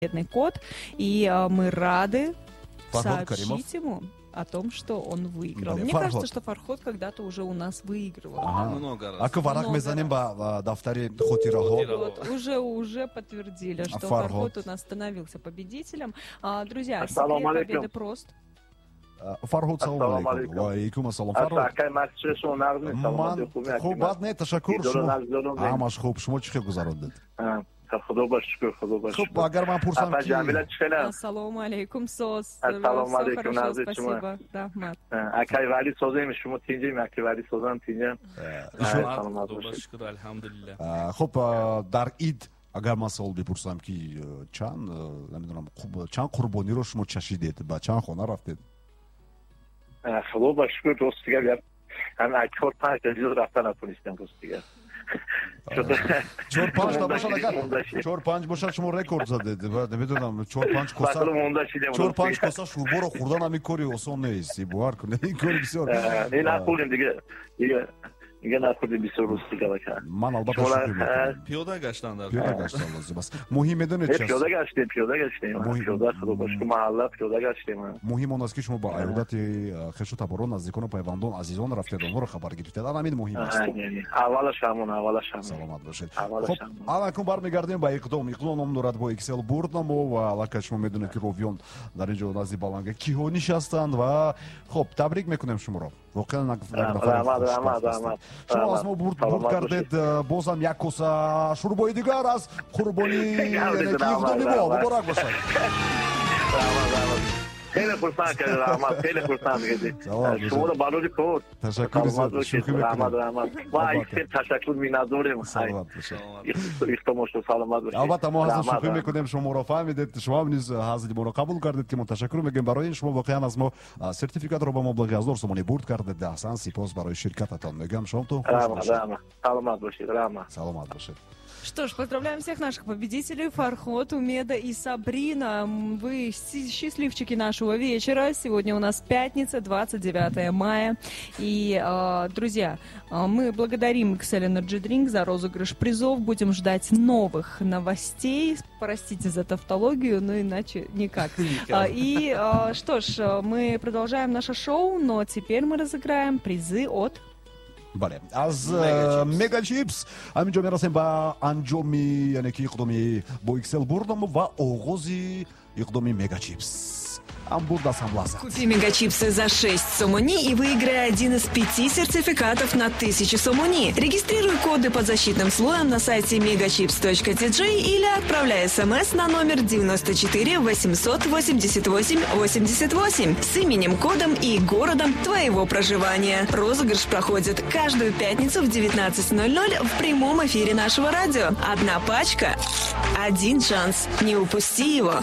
Победный код, и мы рады Фарход Каримов. Сообщить ему о том, что он выиграл. Бале, Мне Фарход. Кажется, что Фарход когда-то уже у нас выигрывал. Аҳа. Много раз. Аку варақ Много мезанем раз. ба дафтари хотираҳо. Вот, уже подтвердили, что Фарход. Фарход у нас становился победителем. Друзья, Ассаламу секрет алейкум. победы прост. Фарҳод, салом Ассалому алейкум. алейкум. Ва алейкум ассалом, Фарҳод. Акай, масчи, шумо нағзми? Ман Саломатӣ, хуб? хуб, бад не, ташаккур. Дидору Шумо нағз дорум. ҳамаш хуб, шумо чӣ хел гузарондед? Худо ба шукр, худо ба Хуб, шукр. агар ман пурсам Апа ки Ҷамила, чӣ хелам? Ассалому алейкум, Сос. Ассалому Всё алейкум, хорошо, Назир, спасибо. Рахмат. Акай Вали, созем, шумо тинҷем? Акай Вали, созам, тинҷем. Саломат Худо ба бошед. шукр, алҳамдулилла. Хуб, дар ид агар ман савол бипурсам, ки чанд, намедонам, чанд қурбониро шумо чашидед, ба чанд хона рафтед? Худо ба шукр, рости гап, ҳам чор панҷ та зиёд рафта натонистем, рости гап. Чор панҷ та бошад, агар Монда шидем. чор панҷ бошад, шумо рекорд задед. Ва намедонам, чор панҷ коса Баъд монда шидем. чор панҷ коса шӯрборо хӯрдан ҳамин кори осон нест, бовар кунед, ин кори бисёр Не, нахӯрдем, дига нахӯрдем бисёр, рости гап, ака. Ман албатта Шумо шукр мекунам. Пиёда гаштан дар Пиёда гаштан лозим аст. Муҳим медонед Не, чи аст? пиёда гаштем, пиёда гаштем. Пиёда, худо ба шукр, маҳалла пиёда гаштем. Муҳим он аст, ки шумо ба аёдати хешу таборон, наздикону пайвандон, азизон рафтед, онҳоро хабар гирифтед, ан ҳамин муҳим аст. Аввалаш ҳамон, аввалаш ҳамон. Саломат бошед. Аввалаш Хуб, ҳамон. аллакун бармегардем ба иқдом. Иқдом ном дорад «Бо Иксел бурд намо», ва аллакай шумо медонед, ки ровиён дар ин ҷо назди баланга киҳо нишастанд. Ва хуб, табрик мекунем шуморо, воқеан як нафари Раҳмат, хушбахт раҳмат, ҳастед. Раҳмат. Шумо аз мо бурд Саломат кардед, бозам як коса шӯрбои дигар аз қурбонӣ, яъне ки иқдоми мо. Муборак бошад. Раҳмат, раҳмат. Хеле хурсанд кардед, раҳмат, хеле хурсанд кардед. Саломат бошед. Шуморо барори кор. Ташаккури Саломат зиёд, бошед. шӯхӣ мекунем. Раҳмат, раҳмат. Ма Албатта. хеле ташаккур, миннатдорем. Саломат бошед. Ихтомошо, саломат бошед. Албатта, мо ҳазл Раҳмат, шӯхӣ раҳмат. мекунем, шуморо фаҳмидед, шумо ҳам низ ҳазли моро қабул кардед, ки мо ташаккур мегӯем барои ин. Шумо воқеан аз мо сертификатро ба маблағи 1000 сомонӣ бурд кардед. Аҳсан, сипос барои ширкататон мегӯям, шомтон хуш Раҳмат, бошад. Раҳмат. Саломат бошед, раҳмат. Саломат бошед. Что ж, поздравляем всех наших победителей: Фархот, Умеда и Сабрина. Вы счастливчики нашего вечера. Сегодня у нас пятница, 29 мая. И, друзья, мы благодарим XL Energy Drink за розыгрыш призов. Будем ждать новых новостей. Простите за тавтологию, но иначе никак. И что ж, мы продолжаем наше шоу, но теперь мы разыграем призы от Бале, аз Мегачипс. Мегачипс. Ҳамин ҷо мерасем ба анҷоми, яъне ки, иқдоми «Бо Иксел бурд намо» ва оғози иқдоми Мегачипс. Ҳам бурд аст, ҳам лаззат. Купи мегачипсы за 6 сомони и выиграй один из пяти сертификатов на 1000 сомони. Регистрируй коды под защитным слоем на сайте megachips.tj или отправляй смс на номер 94 888 88 с именем, кодом и городом твоего проживания. Розыгрыш проходит каждую пятницу в 19.00 в прямом эфире нашего радио. Одна пачка, один шанс. Не упусти его.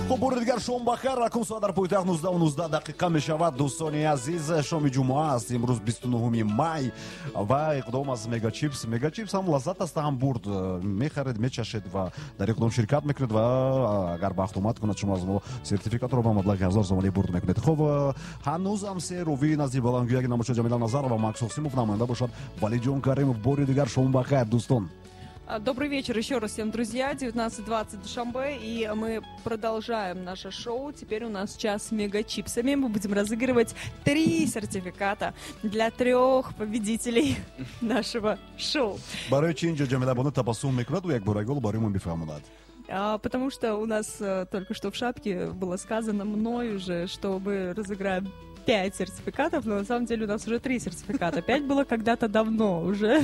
Хуб, бори дигар шом бахайр. Ракум соат дар пойтахт 19:19 дақиқа мешавад. Дӯстони азиз, шоми ҷумъа аст, имрӯз 29 май, ва иқдом аз Мегачипс. Мегачипс ҳам лаззат аст, ҳам бурд. Мехаред, мечашед ва дар иқдом ширкат мекунед, ва агар бахт омад кунад, шумо аз мо сертификатро ба маблағи 1000 сомонӣ бурд мекунед. Хуб, ҳанӯзам се ровии назди баландгӯяки намошо: Ҷамила Назарова, Макс Осимов, намоянда бошад Валиҷон Каримов. Бори дигар шом бахайр, дӯстон. Добрый вечер еще раз всем, друзья. 19.20, Душанбе. И мы продолжаем наше шоу. Теперь у нас час с мегачипсами. Мы будем разыгрывать три сертификата для трех победителей нашего шоу. Барои чи инҷо Ҷамила бону табассум мекунад, ӯ якборагол барои мо бифаҳмонад. Потому что у нас только что в шапке было сказано мной уже, что мы разыграем пять сертификатов, но на самом деле у нас уже три сертификата. Пять было когда-то давно уже.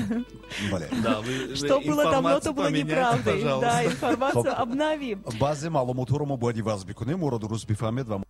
Бале. Да, вы Что было давно, то информацию было поменяйте, неправдой. Пожалуйста. Да, информацию обновим. Баъзе маълумотҳоро мо бояд иваз бикунем, моро дуруст бифаҳмед ва